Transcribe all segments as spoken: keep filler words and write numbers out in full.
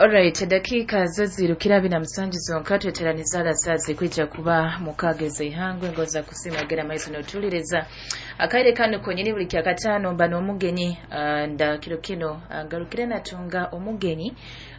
Alright, dakika zo zirukira bina musanju zonka tweteraniza saa kwija kuba mukageze ihangwe ngoza kusima gera maiso notuliriza akaire kano konyini buli kyakatano mba n'omugenyi uh, nda kiro kino uh, ngarukire natunga omugenyi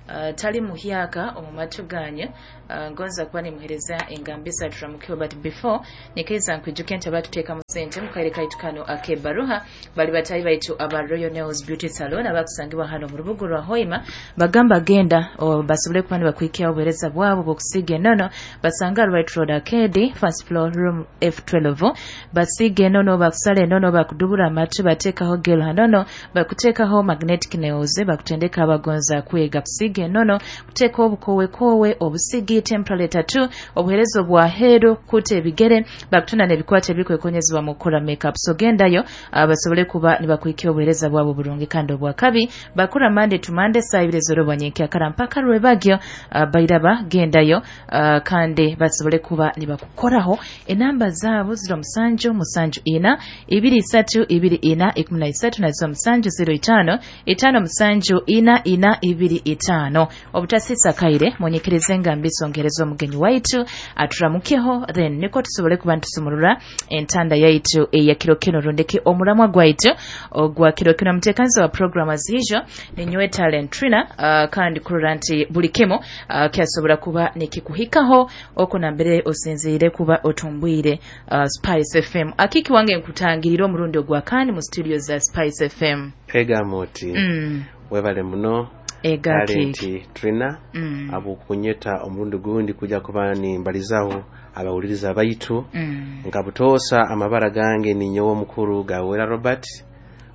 uh, tali muhyaka omumatuganya uh, ngonza kuba nimuhereza engambisa turamukiwe, but before nikeza nkwijuke nti abatuteeka mu sente mukaire kaitu kano akebaruha bali batayi baitu aba Royal Nails Beauty Salon abakusangibwa hano mu rubuga rwa Hoima. Bagamba genda basobole kuba nibakwikia obuhereza bwabo bw'okusiiga enono. Basanga Right Road Arcade, first floor, room F twelve. Basiiga enono, bakusala enono, bakudubura amatu, bateekaho gel hanono, bakuteekaho magnetic nails, bakutendeka abagonza kwega kusiiga enono, kuteeka obukowekowe obusigi temporary tattoo, obuherezo bwa heru kuta ebigere, bakutuna n'ebikwate ebikwekonyezebwa mu kukola makeup. So gendayo basobole kuba nibakwikia obuhereza bwabo burungi kandi obwakabi. Bakura Monday to Monday saa ibiri z'orobwa nyenkya mpaka rwebagyo. uh, bairaba gendayo uh, kandi basobole kuba nibakukoraho. Enamba zaabo ziro musanju musanju ina ibiri isatu ibiri ina ikumi na isatu na ziro musanju ziro itano itano musanju ina ina ibiri itano. Obutasisa kaire munyikirize engambiso ngerezo omugenyi waitu aturamukeho, then niko tusobole kuba ntusumurura entanda yaitu eya kiro kino rundeki omuramwa gwaitu ogwa kiro kino. Mutekanzi wa program azijo ni Nywe Talent Trina, uh, kandi kurora nti buli kimu uh, kyasobora kuba nikikuhikaho oko nambere osinziire kuba otumbwire uh, Spice F M. Akiki wange nkutangirira omurundi ogwa kani mu studio za Spice F M. Ega moti mm. Webale muno ega Talent Trina mm. Abukunyeta omurundi gundi kuja kuba ni mbalizaho abawuliriza baitu mm. Nkabutosa amabara gange ni nyowe mukuru Gawera Robert,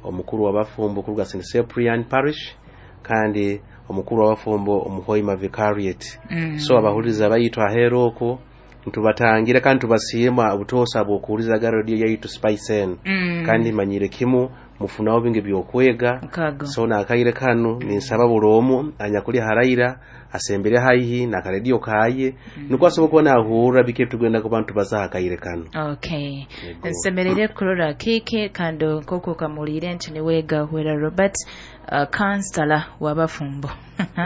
omukuru w'abafumbo kuruga Saint Cyprian Parish, kandi omukuru w'abafumbo omuhoima Vicariate. mm. So abahuliriza baitu ahero oko ntubatangira kandi tubasiima obutosa bw'okuwuliriza ga radio yaitu Spice N. mm. Kandi manyire kimu mufunawo bingi byokwega. So nakaire kanu ninsaba bulomu anyakuli haraira asembere haihi na karedio kaye mm. Nukwo asobola kuba nahurra bike tugenda ku bantu bazaha kaire kanu. Okay, nsemerere kurora kike kandi nkoko kamulire nti niwega Hwera Robert uh, kansala w'abafumbo.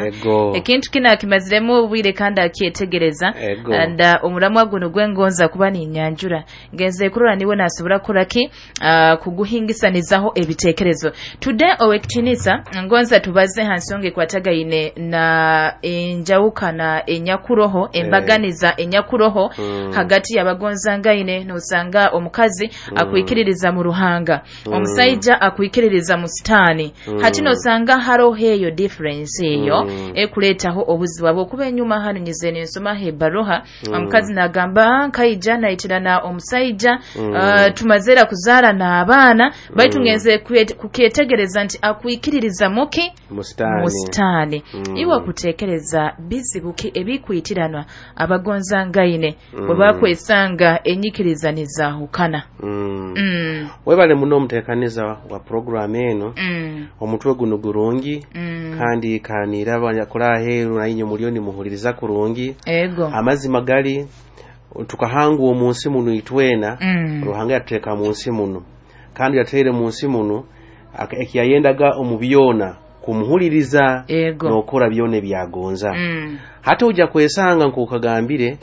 Ego ekintu kina akimaziremu obwire kandi akyetegereza and uh, omuramwa guno gwengonza kuba ni nyanjura ngenze kurora niwe nasobora kuraki uh, kuguhingisanizaho ebitekerezo. Today owekitinisa ngonza tubaze hansonge kwatagaine na enjawukana enyakuroho embaganiza enyakuroho mm. Hagati y'abagonza ngaine nosanga omukazi mm. akwikiririza mu ruhanga mm. Omusajja akwikiririza mu sitani mm. Hati nosanga haroho eyo difference eyo mm. Ekuletaho obuzibu bwokuba enyuma hano nyize nsoma hebaroha mm. Omukazi nagamba nkaija naitirana omusajja mm. uh, tumazera kuzara na abaana baitu mm. Ngenze kukyetegereza nti akwikiririza muki mustani, mustani. Mm. Iwe kutekereza bizibuki ebikwitiranwa abagonza ngaine mm. Bwe bakwesanga enyikiriza nizahukana. mm. mm. Webale muno omuteekaniza wa program eno. mm. Omutwe guno gurungi mm. Kandi kanira abanyakula aheeru nainye muliyo nimuhuliriza kurungi. Ego amazima gali tukahangwa omunsi muno itwena. mm. Ruhanga yatuteeka mu nsi muno kandi yateire mu nsi muno ekiyayendaga omu byona kumuhuliriza n'okora byona ebyagonza. mm. Hata ojja kwesanga nk'okagambire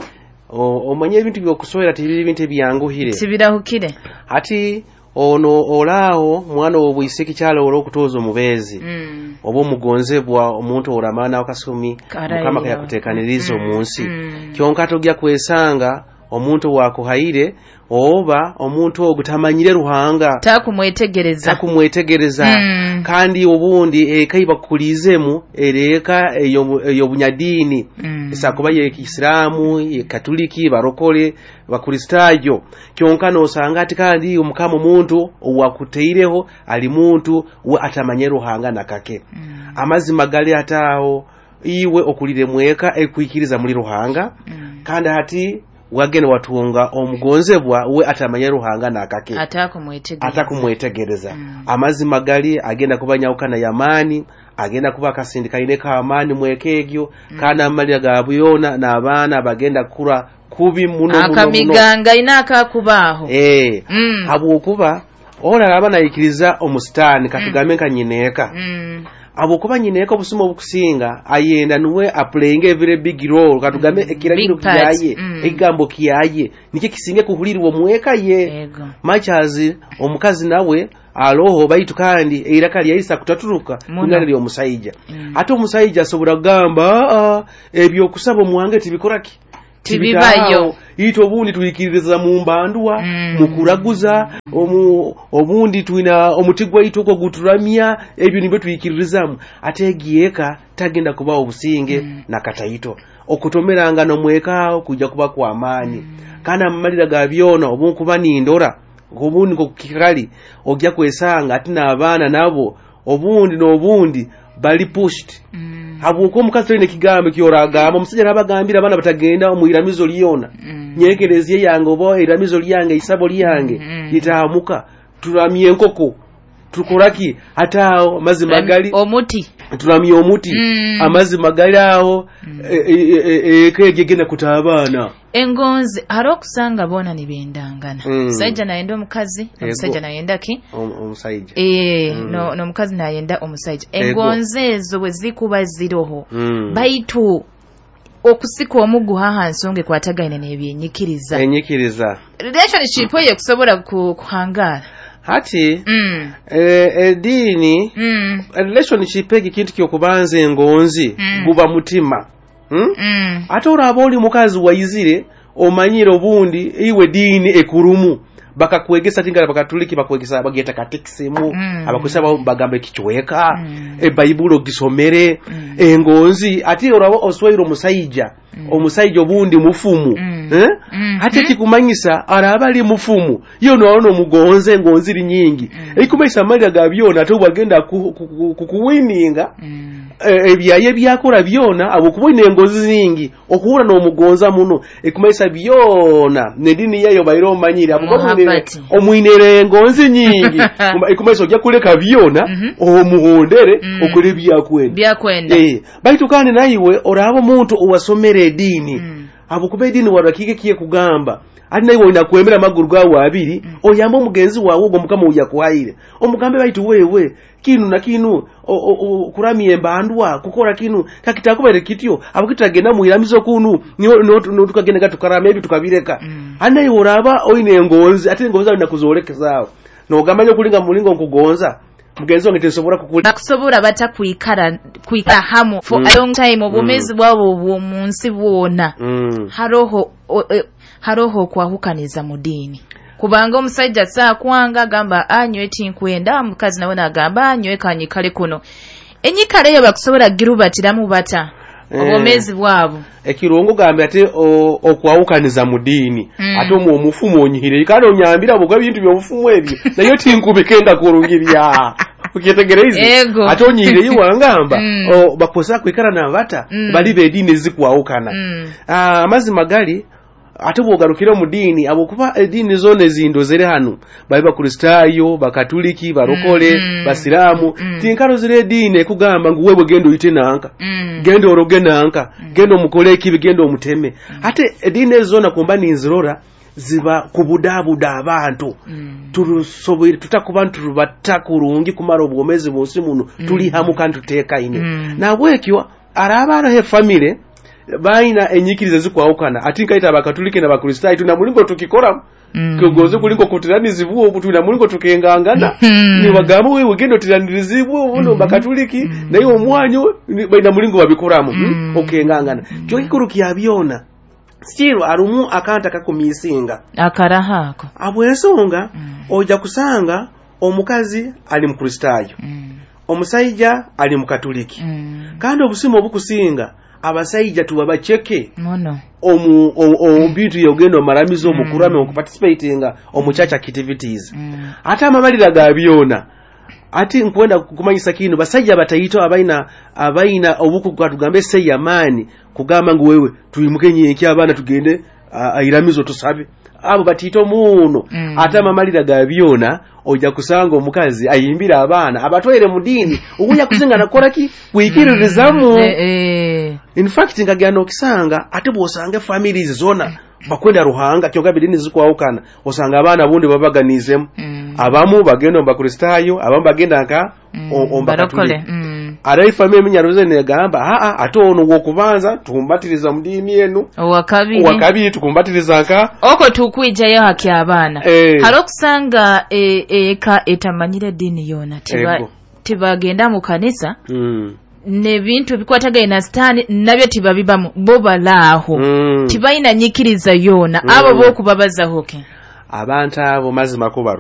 omanye ebintu by'okuswera tibiri bintu ebyanguhire tibirahukire. Hati ono olaawo mwana w'obwisiki kyalo olw'okutuuza omubeezi mm. Oba omugonzebwa omuntu oramana akasumi mukama kayakuteekaniriza mm. omunsi. mm. Kyonka tojja kwesanga omuntu wakuhaire oba omuntu ogwo tamanyire ruhanga takumwetegereza takumwetegereza. mm. Kandi obundi eka ibakulizemu ereka ey'obunyadini mm. Esakuba ye Isiramu, ye Katoliki, barokole, bakristayo. Kyonka nosanga ati kandi omukama omuntu owakuteireho ali muntu we atamanye ruhanga nakake. mm. Amazima gali ataawo iwe okulire mweka ekwikiriza muri ruhanga. mm. Kandi hati wagene watunga omugonzebwa we atamanye ruhanga nakake atakumwetegereza atakumwetegereza. mm. Amazima gali agenda kuba nyawukana yamaani, agenda kuba akasindikaine k'amaani mweka egyo. mm. Kandi amalira ga buyona n'abaana bagenda kukura kubi muno muno muno. Akamiganga ina akakubaaho eh mm. Habwokuba oraraba nayikiriza omusitaani katugambe nka nyineeka. mm. Abokuba nyineka obusumo obukusinga ayenda nuwe aplaying a very big role, katugambe Mm. ekiragiro Big part. kiyaye, Mm. ekigambo kiyaye nikyo kisinge kuhulirwa omweka ye. Ego. Much as omukazi nawe aloho, baitu kandi eiraka lyaisa kutaturuka Muno. kungana ly'omusajja. Mm. Ate omusajja asobola kugamba, "Aa, ebyokusaba omuwange tibikoraki, Tibibayo." Tibitaawo. Ito obundi twikiririza mu mbandwa, Mm. mu kuraguza, omu, obundi twina omuti gwaitu ogwo guturamya, ebyo nibyo twikiririzamu. Ate egieka tagenda kubawo obusinge Mm. na kataito okutomeranga nomwekaawo kujja kuba kwa maanyi. Mm. Kandi amamalira ga byona obunkuba nindora obundi nkokukikali ojja kwesanga ate n'abaana nabo obundi n'obundi bali pushed. Mm. Habwokuba omukazi tolina ekigambo kyoragamba, omusajja nabagambira abaana batagenda omu iramizo lyona, Mm. nyekereziya yange oba iramizo lyange, isabo lyange Mm. litaamuka, turamye enkoko, tukoraki, ate awo amazzi magali, omuti, turamye omuti, Mm. amazzi magali awo, Mm. eka egyo egenda kuta abaana. Engonzi hari okusanga boona nibendangana. Mm. Omusajja nayenda omukazi, Ego. omusajja nayenda ki? Om- omusajja Eh, Mm. no n'omukazi nayenda omusajja. Ego. Engonzi ezo bwe zikuba ziroho, Mm. baitu okusika omuguha aha nsonga ekwatagaine n'ebyenyikiriza, enyikiriza, relationship eyo ekusobola ku- kuhangaara? Hati Mm. eh, ediini, Mm. relationship egi kintu kyokubanza engonzi Mm. guba mutima, hmm? Mm. Ate oraba oli mukazi waizire omanyire obundi iwe diini ekurumu bakakwegesa tingala bakatuliki bakwegesa bageta katekisimu, Mm. abakwesa ba- bagamba ekichweka, Mm. ebayibuli ogisomere. Mm. Engonzi ate oraba oswaire omusajja, Mm. omusajja obundi mufumu, Mm. eh? Mm. Ate kikumanyisa araba ali mufumu yo noona omugonze engonzi eri nyingi, Mm. ekikumanyisa amalira ga byona ate obwagenda ku- ku- ku- kukuwininga, Mm. eh, ebyaye byakora byona abwokuba oyina engozi zingi okuhura n'omugonza muno, ekumanyisa byona nedini yayo baire omanyire abukuba omwinire- Muhabati. omwinire engonzi nyingi, ekumanyisa ojja kuleka byona, Mhm. omuhondere, Mm. okore ebyakwenda. Byakwenda. Eh, baitu kandi naiwe oraba omuntu owasomera ediini, Mm. abukuba ediini warakike kiye kugamba ati naiwe olina kwemera amaguru gawe abiri, Mm. oyambe omugenzi wawe ogwo mukama oyakuhaire, omugambe baitu wewe kinu na kinu o- o- o- kuramya embandwa kukora kinu kakitakubaire kityo abukitagenda mwiramizo kunu niho niho tukagenda nga tukarama ebyo tukabireka. Mm. Ati naiwe oraba oyina engonzi, ate engonzi awe nakuzolekezaawo nogamba nyo kulinga mulingo nkugonza mugenzi wange tinsobora kukuli. Bakusobola bata kwikara kwikara hamu for Mm. a long time, obwomeezi bwabo obw'omu nsi bwona, mm. haroho o- e, haroho okwahukaniza mu diini? Kubanga omusajja saakwanga agamba anywe tinkwenda, omukazi nawe nagamba anywe kanyikale kuno, enyikala eyo bakusobola girubatiramu bata Eh. obwomeezi bwabo? Ekirungo gambe ate o- okwawukaniza mu diini, Mm. ate omwo omufumu onyihire kandi onyambira bwoga ebintu byobufumu ebyo naye tinkubike kurungirya ukyetegereize. Ego. Ate onyihire iwangamba Mm. o, bakosa kwikara nabata Mm. bali bediini ezikwawukana. Mm. Ah, amazima gali ate bwogarukire mu diini, abokuba ediini zona ezindozere hanu bali bakristaayo, bakatuliki, barokole, Mm. basiraamu, Mm. tinkarozire ediini ekugamba ngu wewe genda oyite nanka, Mm. genda oroge nanka, genda omukole ekibi, genda omuteme. Ate ediini ezo zona kumba ninzirora ziba kubudabuda abantu. Mm. Turusoboire tutakuba nturubata kurungi kumara obwomezi bunsi muno tuli hamu kandi tutekaine. Mm. Nabwekyo araba aroho efamire bayina enyikiriza zikwawukana, ati nkaita abakatuliki n'abakristaayo tuna mulingo tukikora, Mm. kugoze kulingo kutiranizibwa obu tuna mulingo tukengangana, Mm. nibagamba wewe genda otiranirizibwe obuno Mm. bakatuliki, Mm. naye omwanyu ni- balina mulingo babikoramu, Mm. mm. okengangana. Kyo kikuru kya byona still arumu akanta kakumisinga. Akaraha ako. Abwensonga Mm. ojja kusanga omukazi ali mukristaayo, Mm. omusajja ali mukatuliki, Mm. kandi obusimu obukusinga abasajja tuba baceke muno omu omu- omu bintu yogenda omaramizo, Mm. omukurame, okuparticipatinga omu church activities. Mm. Ate amabalira ga byona ati nkwenda kumanyisa kino, basajja bataito abaina abaina obukugu tugambe sei amaani kugamba ngu wewe tuyimuke nyenki abaana tugende airamizo tusabe, abo batiito muno. Mm. Ate amamalira ga byona ojja kusanga omukazi ayimbira abaana abatwaire mu diini okuja kusinga nakola ki kwikiririzamu. Mm. Eh, eh. In fact nkagenda okisanga ate bw'osanga families zona bakwenda Ruhanga kyonka bidini zikwawukana, osanga abaana bundi babaganizemu, Mm. abamu bagenda omu bakristaayo, abamu bagenda nka Mm. o- omu Barokole. bakatuliki. Mm. Ara efamiya eminyaruze negamba, aa, ate ono wokubanza tukumbatiriza mu diini enu, owakabiri, owakabiri tukumbatiriza nka oko tukwijayo haki abaana. Eh. Hari okusanga e- eka etamanyire ediini yoona, tiba Ego. tibagenda mu kanisa, Mm. n'ebintu ebikwatagaine na sitaani nabyo tibabibamu, bo balaaho, Mm. tibalina nyikiriza yoona. Mm. Abo bokubabazaho ki? Abantu abo mazima ko baru